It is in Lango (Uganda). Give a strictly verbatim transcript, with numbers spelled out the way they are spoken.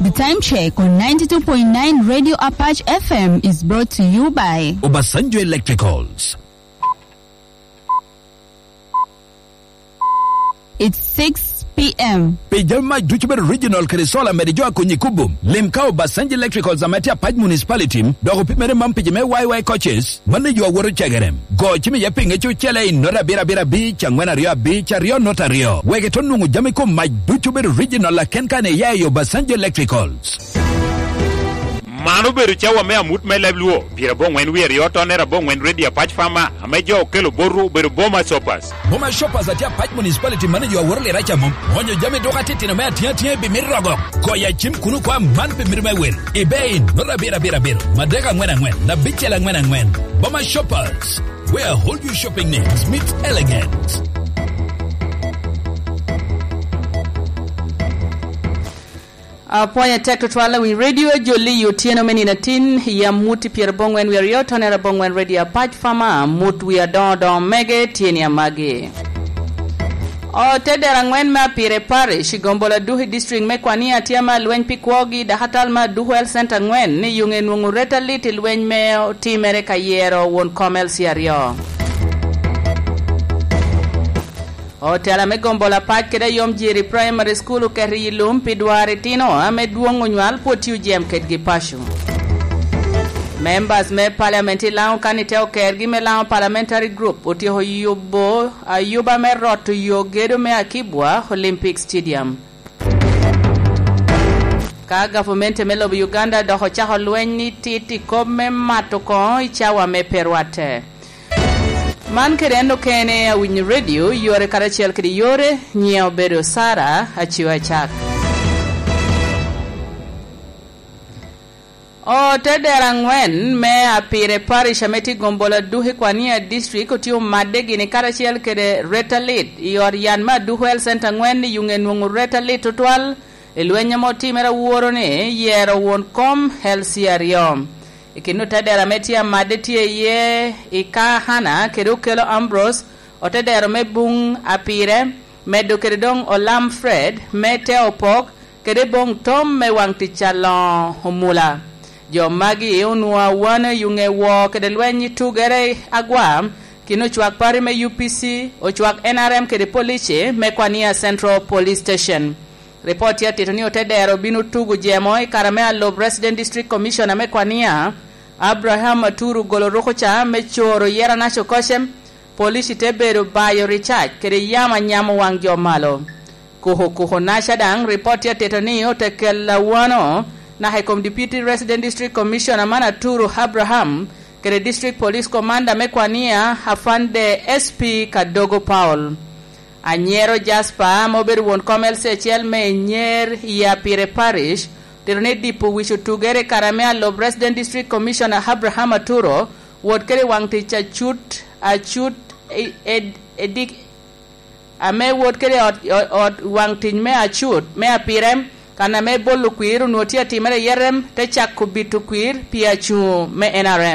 The time check on ninety-two point nine Radio Apache F M is brought to you by Obasanjo Electricals. It's six p.m. Pi jami mac ducu bedo original kede solar mede jo a konyi kubo, lim ka Obasanjo Electricals ame tye Apac Municipality, dok opimere man pi jo me Y Y coaches, mano yo awoto cegere. Go cim iye pi ŋec ocele i nota abiro abiro abic, angwen aryo abic, aryo nota aryo. Wek ito nwoŋo jami kom mac ducu bedo original aken kan iya i Obasanjo Electricals. Man obedo cawa me amut me leb Luo, pyerabongwen wie aryo tonere abongwen Radio Apac Farmer, ame jo okelo botwu obedo Boma Shoppers. Boma Shoppers atye Apac Municipality manager a woro lira ca mom. Onyo jami duka titino me atiŋ atiŋ i bimit rogo. Goyo acim kuno kwa man pi mito me wel. Ibe i nota abiro abiro abiro, madek angwen angwen, abicel angwen angwen. Boma Shoppers, where all your shopping needs meets elegance. Apwony atek tutwal awiny redio, jolli i otyeno me nino atin, yam mut i pyerabongwen wie aryo, tonere abongwen redio Apac Farmer, mut wie adoŋo doŋo mege tye ni amagi. Ote dero angwen me Apire Parish i Gombola Duhi District me Kwania tye ame alweny pi kwogi dakatal me Aduhu Health Center angwen ni yuŋe nwoŋo ret alit i lweny me otimere ka yero won kom L C aryo. Otela me Gombola Pac kede Ayom Jiri Primary School oketo i lum pi dwaro itino ame dwoŋ onywal pwod tye ojem kedgi paco. Members me Parliament i Laŋo kan ite okergi me Laŋo Parliamentary Group otyeko yubo ayuba me roto yo gedo me Akibwa Olympic Stadium. Ka gavumenti me lobo Uganda dok ocako lweny ni tit i kop me mato koŋo i cawa me pe rwatte. Man kede en okene awinyo redio, yore karacel kede yore, nyiŋe obedo Sara Aciwa Acak. Otedero angwen me Apire Parish ame tye i Gombola Duke Kwania District otye omadde gini karacel kede Retalit i ot yan me Aduku Health Center angwen i yuŋe nwoŋo Retalit tutwal i lweny ame otimere aworo ni yero won kom L C aryo. I kin otedero ame tye amadde tye iye i Kahana kede Okelo Ambrose, otedero me Buŋ Apire, medo kede doŋ Olam Fred me te opok, kede boŋ tom me waŋ tic aloŋo omula. Jo magi onwoŋo awano i yuŋe woo kede lweny i tugere agwa, kin ocwak pari me U P C, ocwak N R M kede police me Kwania Central Police Station. Ripot tye atito ni otedero obino tugo jemo i kare me alub Resident District Commissioner me Kwania, Abraham Aturu golo rukuca me coro Yera Naco Kocem, police te bedo bayo ricac kede yamo anyamo waŋ jo malo. Kuku kuku naca daŋ ripot tye atito ni ote kelo awano naka i kom Deputy Resident District Commissioner man Aturu Abraham kede District Police Commander me Kwania Afande S P Kadogo Paul. Anyero Jasper ame obedo won kom L C acel me Enyer i Apire Parish, otito ni dipo wic otugere i kare ame alub Resident District Commissioner Abraham Aturo wot kede waŋ tic acut, acut, e, e, edik, ame wot kede ot, ot, ot waŋ tic me acut, me Apire, kan ame bolo kwir onwoŋo tye atimere i Yerem, te cako bito kwir pi acuŋo me N R M.